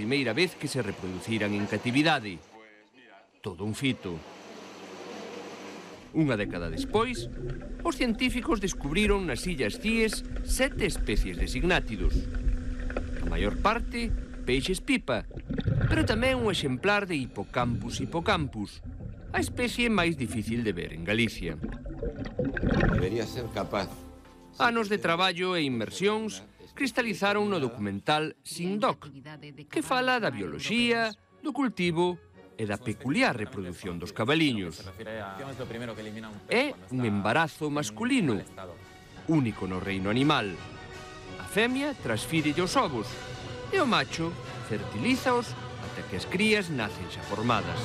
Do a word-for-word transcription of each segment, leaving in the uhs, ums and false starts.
primeira vez que se reproduciran en catividade. Todo un fito. Unha década despois, os científicos descubriron nas Illas Cíes sete especies de signátidos. A maior parte, peixes pipa, pero tamén un exemplar de Hippocampus hippocampus, a especie máis difícil de ver en Galicia. Debería ser capaz. Anos de traballo e inmersións cristalizaron no documental Sindoc, que fala da bioloxía, do cultivo e da peculiar reproducción dos cabaliños. É un embarazo masculino, único no reino animal. A femia transfírelle os ovos e o macho fertilízaos ata que as crías nacen xa formadas.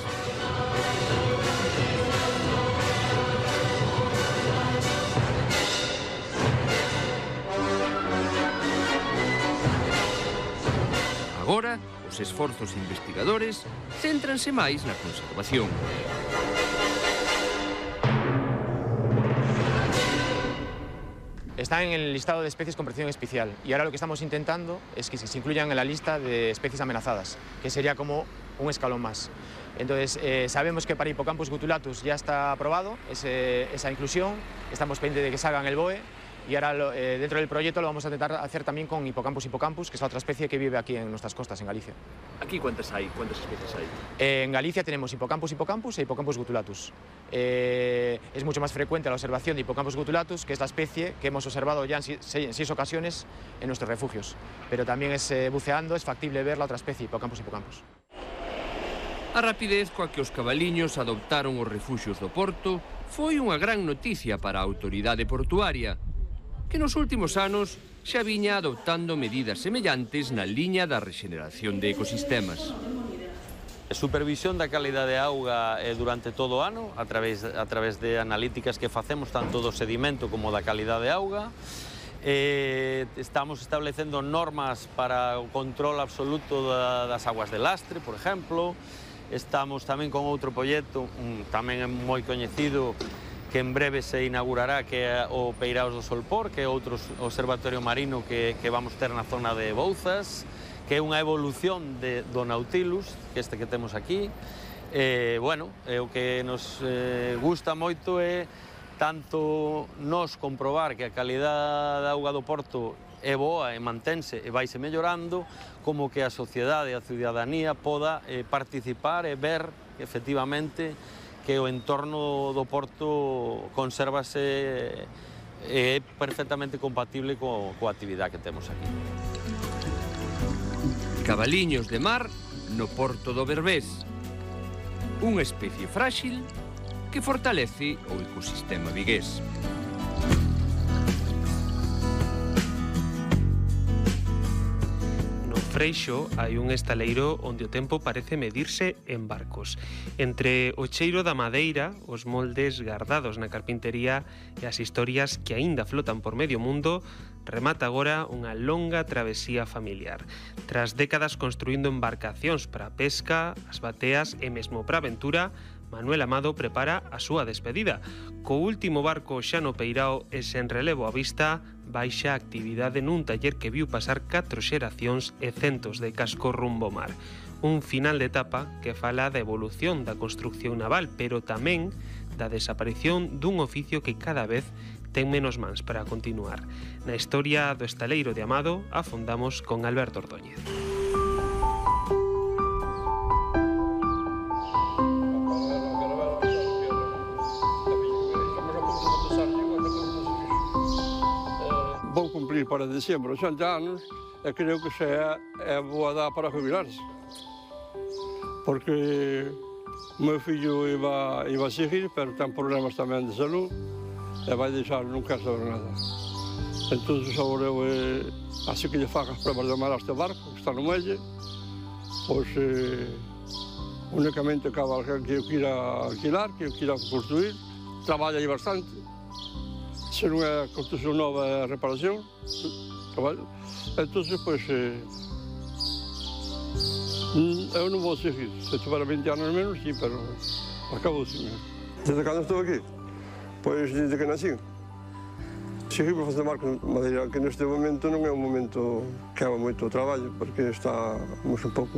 Agora, os esforzos investigadores céntranse máis na conservación. Están en el listado de especies con protección especial y ahora lo que estamos intentando es que se incluyan en la lista de especies amenazadas, que sería como un escalón más. Entonces, eh, sabemos que para Hippocampus gutulatus ya está aprobado ese, esa inclusión, estamos pendientes de que salga en el B O E. Y ahora lo, eh, dentro del proyecto lo vamos a intentar hacer también con Hippocampus hippocampus, que es la otra especie que vive aquí en nuestras costas, en Galicia. ¿Aquí cuántas hay? ¿Cuántas especies hay? Eh, en Galicia tenemos Hippocampus hippocampus e Hippocampus gutulatus. Eh, es mucho más frecuente la observación de Hippocampus gutulatus, que es la especie que hemos observado ya en seis, en seis ocasiones en nuestros refugios. Pero también es eh, buceando, es factible ver la otra especie, Hippocampus hippocampus. A rapidez coa que os cabaliños adoptaron os refuxios do Porto foi unha gran noticia para a autoridade portuaria, que nos últimos anos xa viña adoptando medidas semellantes na liña da rexeneración de ecosistemas. Supervisión da calidade de auga durante todo o ano, a través, a través de analíticas que facemos tanto do sedimento como da calidade de auga. Eh, estamos establecendo normas para o control absoluto da, das aguas de lastre, por exemplo. Estamos tamén con outro proxecto, um, tamén é moi coñecido, que en breve se inaugurará, que é o Peiraos do Solpor, que é outro observatorio marino que, que vamos ter na zona de Bouzas, que é unha evolución de, do Nautilus, que este que temos aquí. E, bueno, e o que nos eh, gusta moito é tanto nos comprobar que a calidade da auga do Porto é boa e mantense e vaise mellorando, como que a sociedade e a ciudadanía poda eh, participar e ver que efectivamente que o entorno do Porto consérvase e é perfectamente compatible co, coa actividade que temos aquí. Cabaliños de mar no Porto do Berbés. Unha especie frágil que fortalece o ecosistema vigués. Freixo hai un estaleiro onde o tempo parece medirse en barcos. Entre o cheiro da madeira, os moldes gardados na carpintería e as historias que aínda flotan por medio mundo, remata agora unha longa travesía familiar. Tras décadas construindo embarcacións para a pesca, as bateas e mesmo para a aventura, Manuel Amado prepara a súa despedida. Co último barco xa no peirao e sen relevo á vista, baixa a actividade nun taller que viu pasar catro xeracións e centos de cascos rumbo ao mar. Un final de etapa que fala da evolución da construcción naval, pero tamén da desaparición dun oficio que cada vez ten menos mans para continuar. Na historia do estaleiro de Amado afondamos con Alberto Ordóñez. Vou cumprir para diciembre oitenta anos e creo que xa é boa data para jubilarse. Porque o meu fillo iba, iba a seguir, pero ten problemas tamén de salud e vai deixar, non quer saber nada. Entón, agora eu, eh, así que lle faga as pruebas de mar a este barco, que está no muelle, pois eh, únicamente cabe alguén que eu quira alquilar, que eu quira construir, traballa aí bastante. Se non é construcción nova, é reparación, traballo. Entón, pois, eh, eu non vou seguir. Se tivera vinte anos menos, sí, pero acabou assim. Desde cando estou aquí? Pois desde que nací. Segui para fazer barco de madeira, que neste momento non é un momento que haga moito traballo, porque estamos un pouco